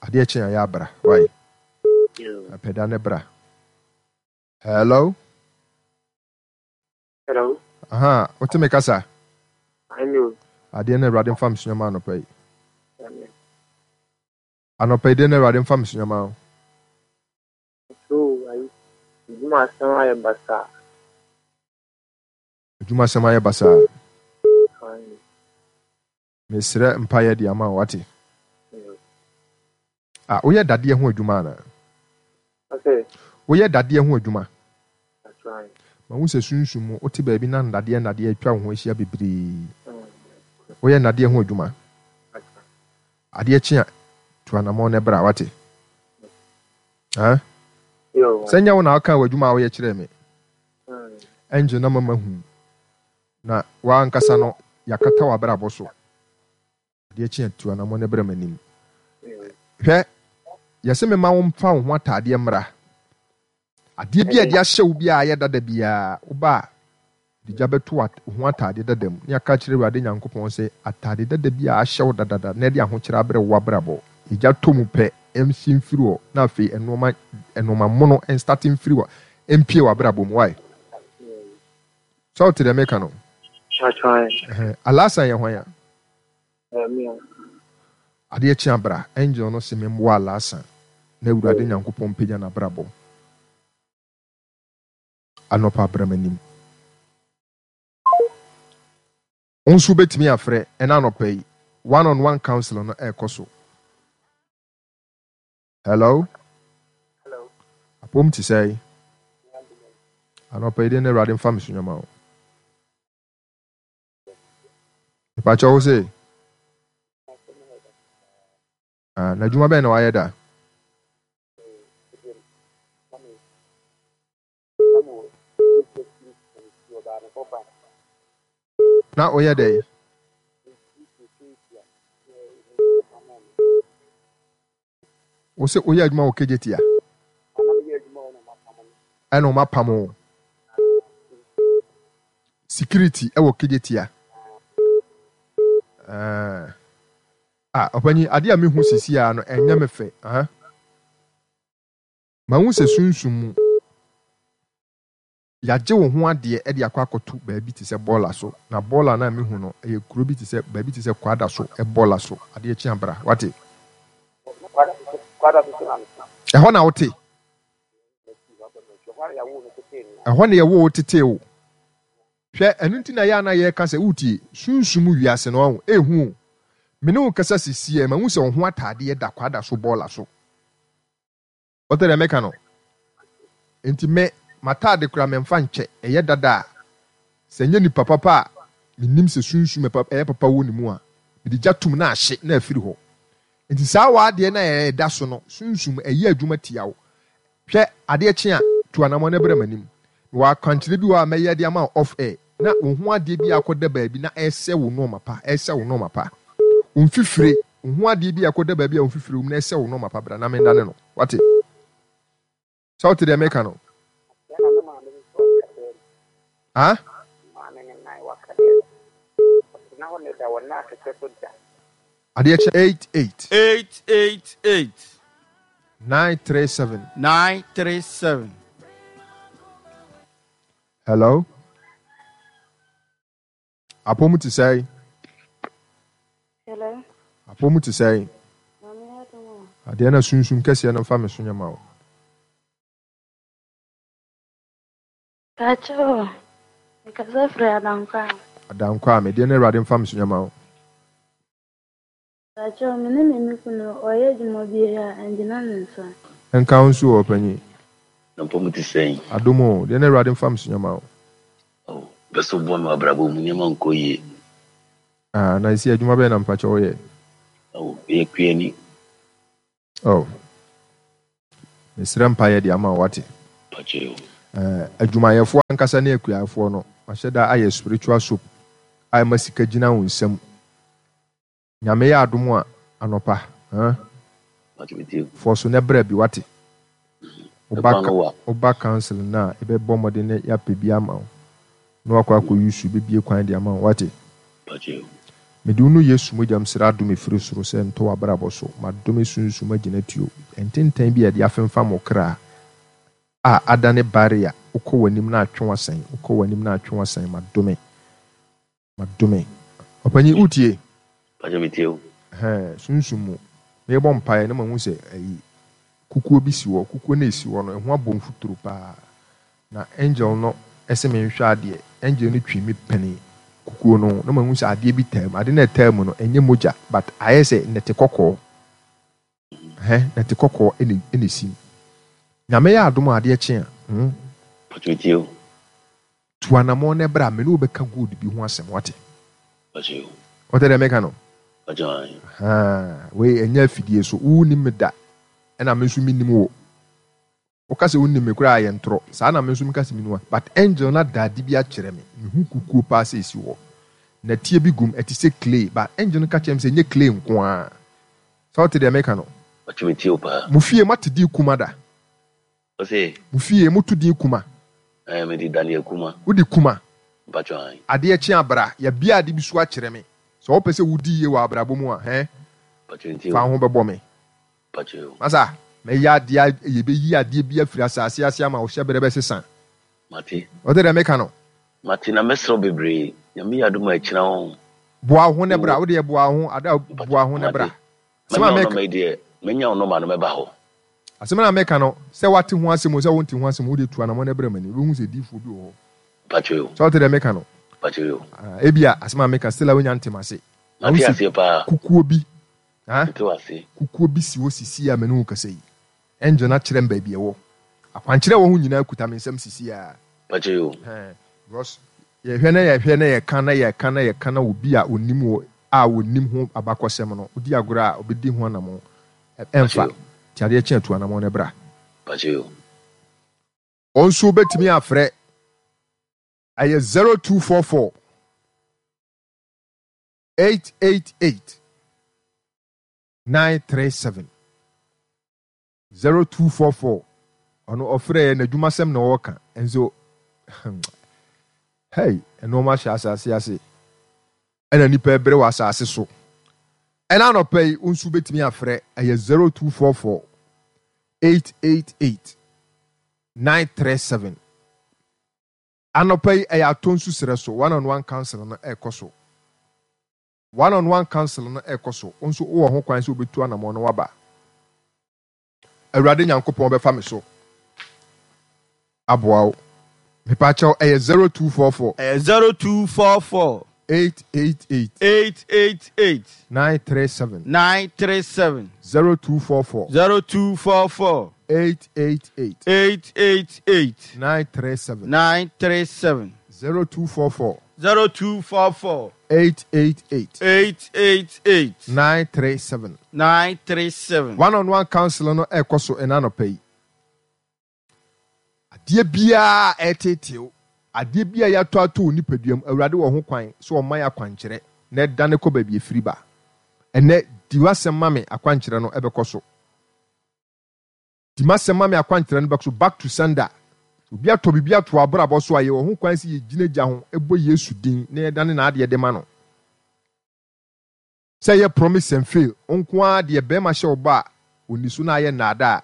Adeɛ kye a yɛ abra. Wai. Yoo. Apɛ da ne bra. Hello. Hello. Aha, wote me kasa? I know. Adeɛ no Awurade mfa me so nyɛma anɔpa yi. Amen. Anɔpa yi deɛ no Awurade mfa me so nyɛma wo. So, ayi, adwuma asɛm ayɛ basaa. Adwuma asɛm ayɛ basaa. Aye. Mesrɛ mpaeɛ de ama wo wate. Mm. Ah, woyɛ dadeɛ ho adwuma anaa? Ɔsɛ, Woyɛ dadeɛ ho adwuma. that's right. Ma wo sɛ sunsum mu wote baabi na nnadeɛ nnadeɛ atwa wo ho ahyia bebree. Mm. Woyɛ nnadeɛ ho adwuma. That's right. Adeɛ kye a tu anammɔn na bra wate. Ah? Yo, Sɛ nyɛ wo na wokaa w'adwuma a woyɛ kyerɛɛ me. Mm. Angel na mama hu. Na w'ankasa no yɛakata w'abrabɔ so. Adeɛ kye a tu anammɔn na bra m'anim. Mm. Hwɛ, yɛsɛ mema wo mfa wo ho ataadeɛ mmra. Adeɛ bi a yɛde ahyɛ wo bi a ayɛ dada biara, woba a de gya bɛto wo ho ataadeɛ dada mu. Ne aka kyerɛ Awurade Nyankopɔn sɛ ataade dada bi a ahyɛ wo dadada na ɛde ahokyerɛ abrɛ wo abrabɔ. Egya tɔ mu pɛ, ɛnsi mfiri hɔ. Na afei ɛnoɔma ɛnoɔma mono ɛnstarte mfiri hɔ, ɛmpie w'abrabɔ mu. Why? Sɛ wote deɛ meka no? That's right. Ɛhɛn. Alasan yɛ hwan a? Amen. Adeɛ kye abra. Angel no se memmoa Alasan na Awurade Nyankopɔn mpagya n'abrabɔ. Anɔpa bra m'anim. Wo nso wobɛtumi afrɛ ɛna anɔpa yi. One on one council no ɛrekɔ so. Hello. Hello. Apom te sɛ anɔpa yi deɛ na Awurade mfa me so nyɛma wo. Mepakyɛ wo se ah, na adwuma bɛn na wayɛ da? Na woyɛ dɛn? Wo se woyɛ adwuma wɔ Kejetia? Ɛna ɔmo apam wo. Security ɛwɔ Kejetia. Ah, ah, ɔpanyin adeɛ a mehu sisi a no ɛnyɛ me fɛ. Ah. Mahu sɛ sunsum mu yɛagye wo ho adeɛ de akɔ akɔto baabi te sɛ bɔɔla so. Na bɔɔla no a mehu no ɛyɛ kuro bi te sɛ baabi te sɛ kwada so bɔɔla so. Adeɛ kye abra. Wate? Ɛhɔ na wote. Ɛhɔ na yɛwo wo tetee wo. Hwɛ, ɛno nti na yɛ a na yɛreka sɛ wotie sunsum wiase no ɔho ehu o. Me ne wo kasa sisi ɛ, mahu sɛ wo ho ataadeɛ da kwada so bɔɔla so. Wote deɛ meka no? Nti me, m'ataade koraa memfa nkyɛ. Ɛyɛ dada a, sɛ nyɛ nipa papa a menim sɛ sunsum ɛyɛ papa wɔ ne mu a, mede gya tom na ahye na afiri hɔ. Nti saa w'adeɛ no a ɛda so no, sunsum ɛyɛ adwuma tia wo. Hwɛ, adeɛ kye a, tu anammɔn na bra m'anim. Mewɔ akwankyerɛ bi wɔ hɔ a mɛyɛ de ama wo off air. Na wo ho adeɛ bi a akɔda baabi na ɛresɛ wo nnoɔma pa, ɛresɛ wo nnoɔma pa. Wo mfifire, wo ho adeɛ bi a akɔda baabi a wo mfifire wɔ mu na ɛresɛ wo nnoɔma pa, bra na mendane no. Wate? Sɛ wote deɛ meka no? Ah? Adeɛ kye eight eight. Eight eight eight. Nine three seven. Nine three seven. Hello. Apɔmu te sɛn? Hello. Apɔmu te sɛn? Maame adom o. Adeɛ na sunsum kɛseɛ no mfa me so nyɛ ma wo. Kakyɛ o. Mekasa firi Adankwa. Adankwa a medeɛ na Awurade mfa me so nyɛ ma wo. Pakyɛw, me ne me me kunu, ɔyɛ adwuma biara a, ɛngyina ne nsa. Nka wo nso o, ɔpanyin. Na mpɔ mu te sɛn? Adom o, deɛ na Awurade mfa me so nyɛ ma wo. Oh, pɛ sɛ woboa me wɔ abrabɔ mu, nneɛma nkɔ yie. Ah, na ɛsi adwuma bɛn na mpakyɛ woyɛ? Oh, meyɛ kuani. Oh, mesrɛ mpaeɛ de ama wo, wate? Pakyɛ o. Eh, adwumayɛfoɔ ankasa ne akuafoɔ no, mahyɛ da ayɛ spiritual soap a ɛma sika gyina wo nsam. Nyame yɛ adom a, anɔpa, huh? Pakyɛ metie o. Fɔ so na bra bi, wate? Woba Ɛkwan no wa. woba council no a, yɛbɛbɔ mmɔden na yɛapɛ bi ama wo. Na wakɔ akɔ use, bɛbie kwan de ama wo, wate? Pakyɛ o. Mede wo no Yesu mogya mesrɛ adom ɛfiri soro sɛ ntɔ w'abrabɔ so. Madome sunsum agyinatuo, ntentan bi a yɛde afemfam wo kra a adane barrier, wokɔ w'anim na atwe w'asan, wokɔ w'anim na atwe w'asan, madome, madome. Ɔpanyin, wotie? Pakyɛ metie o. Ɛhɛn, sunsum mu. Merebɔ mpaeɛ na mahu sɛ ayi, kukuo bi si hɔ. Kukuo no a ɛsi hɔ no, ɛho abɔ mfuturo paa. Na angel no se menhwɛ adeɛ. Angel no twi me pene kukuo no ho na mahu sɛ adeɛ bi taa mu. Ade no a ɛtaa mu no, ɛnyɛ mogya but ayɛ sɛ nnɛte kɔkɔɔ. Ɛhɛn, nnɛte kɔkɔɔ ɛna ɛna ɛsi mu. Nyame yɛ adom a adeɛ kye a, hmm. Pakyɛ metie o. Tu anamɔn na bra, me ne wo bɛka gold bi ho asɛm, wate? Pakyɛ o. Wote deɛ meka no? Pakyɛ ae. Ahaa, wei ɛnyɛ afidie so. Wo nnim me da, ɛna me nso mennim wo. Woka sɛ wonim me koraa a ɛyɛ ntorɔ. Saa na me nso meka sɛ menim wo. But angel no ada ade bi akyerɛ me. Mehu kukuo paa sɛ ɛsi hɔ. Nɛteɛ bi gum, ɛte sɛ clay. But angel no ka kyerɛɛ me sɛ ɛnyɛ clay nko ara. Sɛ wote deɛ meka no? Ɔtwe me tie wo paa. Mo fie moate din Kuma da? Ɔse. Mo fie moto din Kuma? Ɛɛ, mede Daniel Kuma. Wode Kuma? Mpakyɛw ae. Adeɛ kye a bra, yɛabue ade bi so akyerɛ me. Sɛ wopɛ sɛ wodi yie wɔ abrabɔ mu a, hɛn? Mpakyɛw ntie Fa wo. wo ho bɛbɔ me. Mpakyɛw. Masa, mɛyɛ adeɛ a yɛbɛyi adeɛ bi afiri asase ase ama wo hyɛberɛ bɛsesa. Mate. Wote deɛ meka no? Mate na mɛsrɛ wo bebree. Nyame yɛ adom a ɛkyena wo. Boa wo ho na bra. Wo deɛ boa wo ho. Ada boa wo ho na bra. Mate. Asɛm a Manya wo meka. nɔma yi deɛ, mɛnya wo nɔma no mɛba hɔ. Asɛm no a meka no, sɛ woate ho asɛm o, sɛ wonte ho asɛm o, wo deɛ tu anamɔn na bra m'anim. Wobɛhu sɛ diyifoɔ bi wɔ hɔ. Mpakyɛw yo. Sɛ wote deɛ meka no? Mpakyɛw yo. Ah, ebia asɛm a meka still a wonya nte m'ase. Mate Mahu sɛ aseɛ paa. kukuo bi. Ha? Mete wo ase. Kukuo bi si hɔ sisi a me ne wo kasa yi. Angel no akyerɛ me baabi ɛwɔ. Akwankyerɛ a ɛwɔ ho nyinaa kuta me nsam sisi a. Pakyɛ yo. Hɛn, because yɛhwɛ na yɛhwɛ na yɛka na yɛka na yɛka na obi a onim wɔ a onim ho abakɔsɛm no, odi agorɔ a obedi ho anamɔn. Pakyɛ Ɛmfa. yo. Nti adeɛ kye a tu anamɔn na bra. Pakyɛ yo. Wɔn nso wobɛtumi afrɛ. Ɛyɛ zero two four four eight eight eight nine three seven zero two four four. Ɔno ɔfrɛ yɛ n'adwumasɛm na ɔreka nso. Hey, nneɛma hyɛ asase ase ɛna nipa ɛbrɛ wɔ asase so. Ɛna anɔpa yi wo nso wobɛtumi afrɛ ɛyɛ zero two four four eight eight eight nine three seven. Anɔpa yi ɛyɛ atɔ nsu serɛ so one on one council no ɛrekɔ so. One on one council no ɛrekɔ so. Wo nso wowɔ ho kwan sɛ wobɛtu anammɔn na woaba. Awurade Nyankopɔn bɛfa me so aboa wo. Mepaakyɛw ɛyɛ zero two four four. Ɛyɛ zero two four four. Eight eight eight. Eight eight eight. Nine three seven. Nine three seven. Zero two four four. Zero two four four. Eight eight eight. Eight eight eight. Nine three seven. Nine three seven. Zero two four four. Zero two four four. Eight eight eight. Eight eight eight. Nine three seven. Nine three seven. One on one council no ɛkɔ so ɛna anɔpa yi. Adeɛ biara ɛreteetee wo, adeɛ biara yɛatɔ ato wo nipadua mu, Awurade wɔ ho kwan sɛ ɔma yɛ akwankyerɛ na ɛdane kɔ baabi ɛfiri ba. Ɛnnɛ, di w'asɛm ma me akwankyerɛ no ɛbɛkɔ so. Di m'asɛm ma me akwankyerɛ no bɛkɔ so. Back to sender. Obi atɔ biribi ato w'abrabɔ so a, yɛwɔ ho kwan sɛ yɛgyina gya ho bɔ Yesu din na yɛdane n'adeɛ de ma no. Sɛ ɛyɛ promise and fail nko ara deɛ bɛrima hyɛ wo bɔ a, ɔnni so na ayɛ nnaadaa.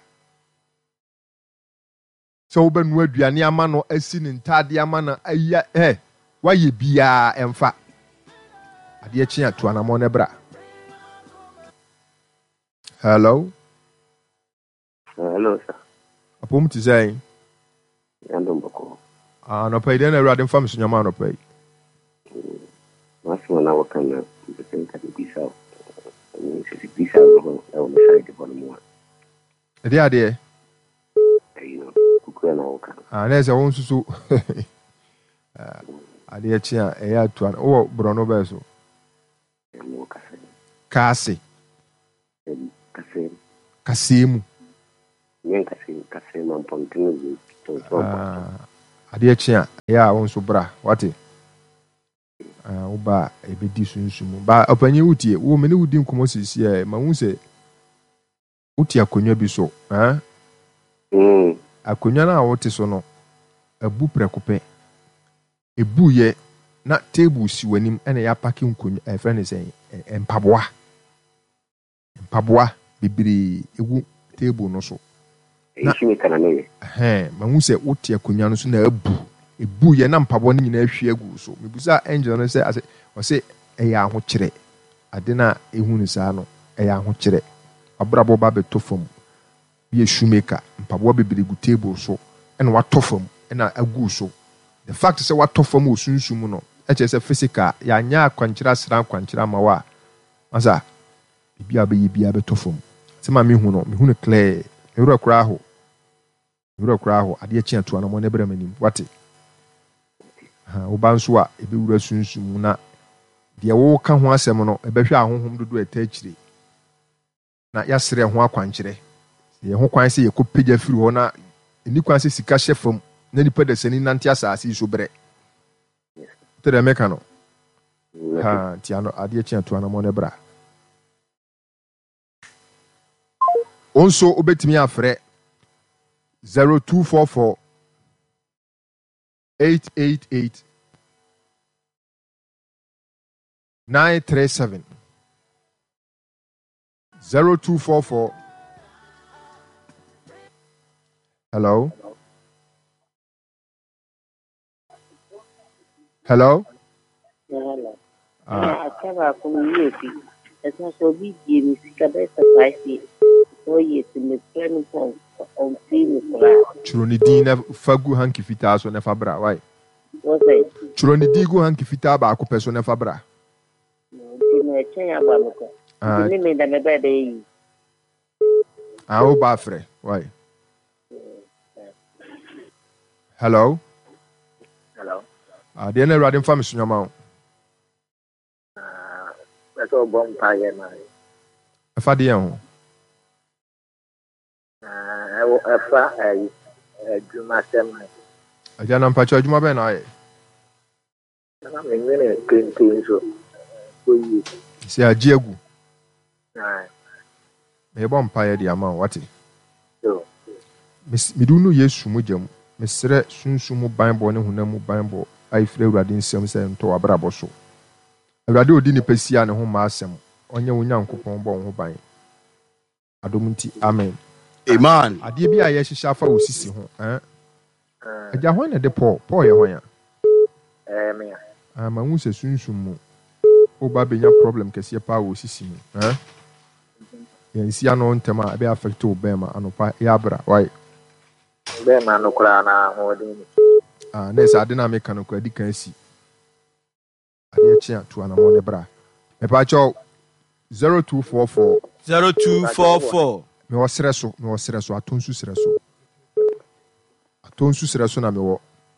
Sɛ wobɛnoa aduane ama no, asi ne ntaadeɛ ama no, ayi a, ɛ, woayɛ biara ɛmfa. Adeɛ kye a, tu anammɔn na bra. Hello. Hello, sir. Apom te sɛn? Yandom bɔkɔ. Ah, anɔpa yi dɛn na Awurade mfa me so nyama anɔpa yi? M'asɛm a na wɔka na mpɛ sɛ nka mebisa wo. Ɛne Ɛdeɛ adeɛ? Ayi no, kukua na woka no. Ah, na ɛsɛ wo nso so. Adeɛ kye a, ɛyɛ atua no. Wowɔ borɔno bɛɛ so? Mewɔ kasɛɛ. Kaase? Kasɛɛ. Kasɛɛ mu? Nyɛ nkasɛɛ mu, kasɛɛ ma mpɔntene dze tɔnso ampɔntene. Ah, adeɛ kye a, ɛyɛ a wo nso bra, wate? Ah, wo ba a, ɛbɛdi sunsum mu. Ba, ɔpanyin wotie, wo me ne wo di nkɔmmɔ seesei a, mahu sɛ wote akonnwa bi so. Ah? Mm. Akonnwa no a wote so no, abu prɛko pɛ. Ebuiɛ na table si w'anim ɛna yɛapake nkonnwa, ɛfrɛ no sɛn, mpaboa. Mpaboa bebree gu table no so. Na, ɛhɛn, mahu sɛ wote akonnwa no so na abu. Ebuiɛ na mpaboa no nyinaa ahwie agu wo so. Mebisaa angel no sɛ, ase, ɔse ɛyɛ ahokyerɛ. Ade no a ehu no saa no, ɛyɛ ahokyerɛ. W'abrabɔ ba abɛtɔ fam. Woyɛ shoemaker, mpaboa bebree gu table so ɛna watɔ fam ɛna agu wo so. The fact sɛ watɔ fam wɔ sunsum mu no, ɛkyerɛ sɛ physical, yɛanyɛ akwankyerɛ asra akwankyerɛ amma wo a, masa, biribi a wobɛyɛ biara bɛtɔ fam. Asɛm a mehu no, mehu no clear. Me werɛ koraa how. Me werɛ koraa how. Adeɛ kye a, tu anamɔn na bra m'anim. Woate? Aha, wo ba nso a, ɛbɛwura sunsum mu na deɛ woreka ho asɛm no, ɛbɛhwɛ ahonhom dodoɔ a ɛtaa akyire na yɛasrɛ ho akwankyerɛ. Sɛ yɛn ho kwan sɛ yɛkɔpagya firi hɔ na ɛnni kwan sɛ sika hyɛ fam na nipa dasani nante asase yi so brɛ. Wote deɛ meka no? Ha, nti ano, adeɛ kye a tu anamɔn na bra. Wo nso wobɛtumi afrɛ zero two four four eight eight eight nine three seven zero two four four. Hello. Hello. Hello. Ah. Aka baako no yie fi. Ɛsan sɛ obi gye me sika bɛyɛ sɛ five years. Four years mefrɛ no mpo ɔmfii me koraa. Twerɛ ne din na fa gu hanky fitaa so na fa bra. Why? Wɔ sɛ? Twerɛ ne din gu hanky fitaa baako pɛ so na fa bra. Nti no ɛkyɛn aba me kɔ. Nti me me da me bɛɛ bɛyɛ yi. Ah, wo ba afrɛ. Why? Hello. Hello. Ah, deɛ na Awurade mfa me so nyama wo. Ah, bɛsɛ ɔbɔ mpa yɛ ma. Ɛfa deɛ ho. Ah, ɛwɔ ɛfa ɛyi adwuma sɛm. Agya na mpakyɛ adwuma bɛn na ayɛ? Na me nwene kente nso kɔ yie. Sɛ agye agu. Mebɔ mpaeɛ de ama wo wate. Mede wo nu Yesu mogya mu. Mesrɛ sunsum mu banbɔ ne honam mu banbɔ a ɛfiri Awurade nsam sɛ ɛntɔ w'abrabɔ so. Awurade a ɔdi nnipa si a ne ho mma asɛm, ɔnyɛ wo Nyankopɔn bɔ wo ho ban. Adom nti, amen. Amen. Adeɛ bi a yɛhyehyɛ afa wo sisi ho eh? Agya hwan na ɛde Paul? Paul yɛ hwan a? Ɛyɛ me a. Ah, mahu sɛ sunsum mu woba bɛnya problem kɛseɛ paa wɔ sisi mu eh? Yɛnsi ano ntɛm a ɛbɛ affect wo bɛɛma anɔpa yɛ abra why? Bɛɛma no koraa na ahoɔden ni. Ah, na ɛsɛ ade no a meka no koraa di kan si. Adeɛ kye a tu anamɔ ne bra. Mepaakyɛw zero two four four. Zero two four four. Mewɔ serɛ so, mewɔ serɛ so, Atonsu serɛ so. Atonsu serɛ so na mewɔ.